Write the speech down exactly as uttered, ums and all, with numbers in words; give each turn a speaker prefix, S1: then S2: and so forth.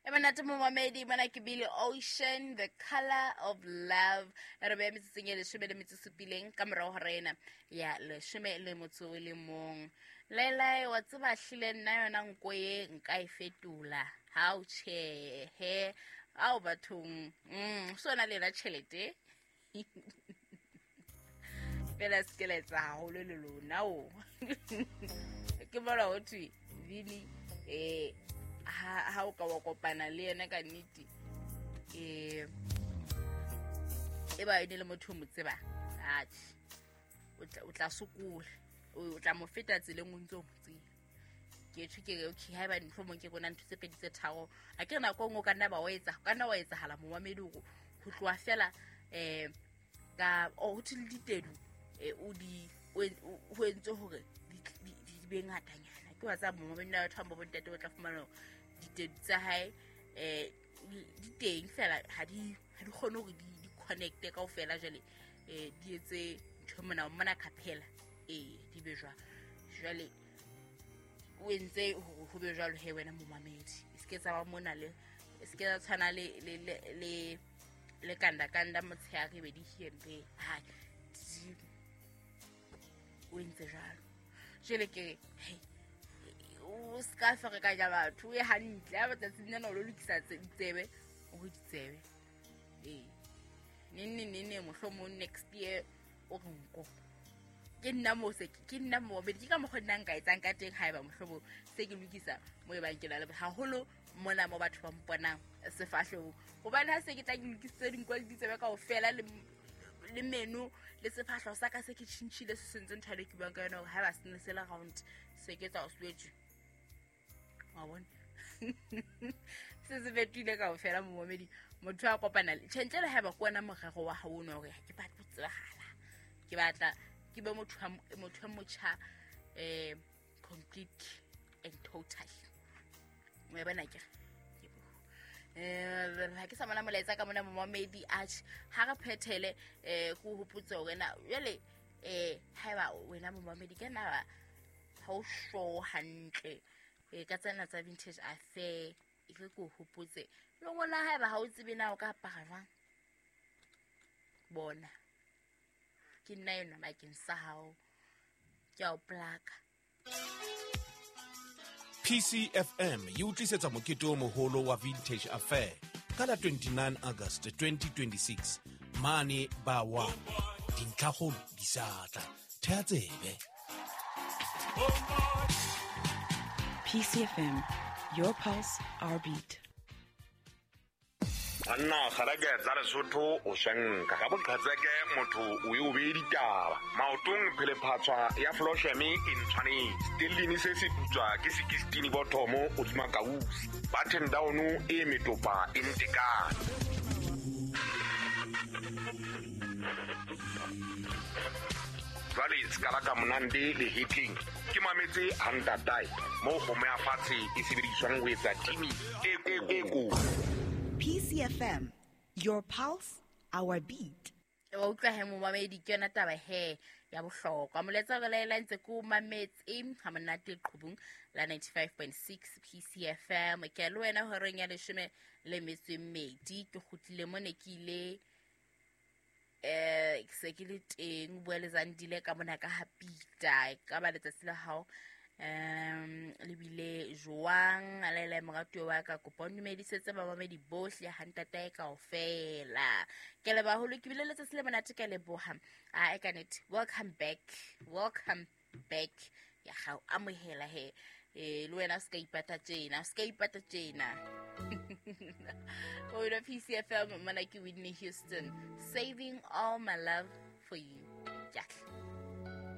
S1: E monate momamedi, mona ke Billy Ocean, The Color of Love. Re beha metsotsong e leshome le metso e supileng ka morao ho rena ya leshome le motso o le mong. Laelae, wa tseba hlile nna yona nko e nka e fetola. Ha o tjhehe, ao bathong, mm, so na le yona tjhelete. Fela se ke la etsa haholo le lona o. Ke bona ho thwe Vini, eh ha ha o ka wa kopana le yena ka nnete, eh e ba ene le motho o mo tsebang, atjhe, o tla o tla sokola, o tla mo feta tseleng o ntse o mo tseba. Ke tjho ke re, okay, haeba mohlomong ke bona ntho tse pedi tse tharo, a ke re nako e nngwe o ka nna ba o etsa, o ka nna wa etsahala momamedi hore ho tloha fela eh ka o ho thwe le ditedu, eh o di o ho entse hore di di be ngatanyana. Ke wa tseba momamedi na batho ba bontate o tla fumana hore ditedu tsa hae eh di teng fela, ha di ha di kgone hore di di connecte kaofela, jwale eh di etse ntho mona mona khaphela, eh di be jwalo. Jwale o entse hore ho be jwalo he wena momamedi, e se ke tsa ba mona le e se ke tsa tshwana le le le le le kanda kanda motshehare be di here, ha di o entse jwalo. Jwale ke re, hey, o ska ferekanya batho, o ye hantle ha matsatsing ana o lo lokisa ditsebe, o re ditsebe ee neng neng neng neng mohlomong next year o re nko. Ke nna mo se ke nna mo ke ka mokgwa nna nka etsang ka teng haeba mohlomong se ke lokisa mo e bang ke na le haholo mona mo batho ba mponang sefahlehong, hobane ha se ke tla ke lokisitse dinko le ditsebe kaofela le le meno le sefahleho sa ka se ke tjhintjhile, se sentse ntho e ke buang ka yona hore haeba se ne se le round se ke tsa o swetse, wa bona, se se fetohile kaofela momamedi. Motho a kopana le tjhe ntle le haeba ke wena morero wa hao ono hore ha ke batle ho tsebahala, ke batla ke be motho wa motho e motjha, eh complete and total. Wa bona ke eh ha ke sa mona molaetsa ka mona momamedi, atjhe ha re phethele, eh ke o hopotse hore na jwale eh haeba wena momamedi ke na ha o sure hantle eh ka tsena tsa vintage affair, e re ke o hopotse le ngwana haeba ha o tsebe na o ka apara jwang, bona ke nna enwa bakeng sa hao, ke a o plaka.
S2: P C F M e o tlisetsa mokete o moholo wa Vintage Affair ka la twenty-nine August twenty twenty-six mane ba wa dintlhakgolo di sa tla thea tsebe.
S3: P C F M, your pulse, our beat.
S4: Banna kgareke tsa Lesotho o shenka ka boqhetseke motho o ye o beye ditaba maotong phelephatswa ya flosheme e ntshwanetse stellini se se putswa ke sixteen bottomo o tsuma kausi button down e metopa e ntekane. Jwale se ka la ka monande le hitling ke mametse hantatae mo kgomo ya fatshe e sebediswang ho etsa timi e e ko
S5: P C F M, your pulse, our beat.
S1: Wa utlwa he momamedi, ke yona taba he ya bohlokwa. Molaetsa re laela ntse ko mametse ha monate qhubung la ninety-five point six P C F M. Ke le wena horeng ya leshome le metso e mmedi, ke kgutlile mone ke ile eh ke se ke le teng, o bua le Zandile ka mona ka ha Pita. E ka ba letsatsi la hao um le bile jwang? Laela moratuwa wa ka, kopa o dumedisetse bamamedi bohle ha ntatae kaofela. Ke leboha haholo, ke bile letsatsi le monate, ka leboha. A e ka nnete, welcome back, welcome back ya ga o amohela he, eh le wena o ska ipata tjena, o ska ipata tjena. O wena P C F M, mona ke Whitney Houston, Saving All My Love For You. Ke a tla.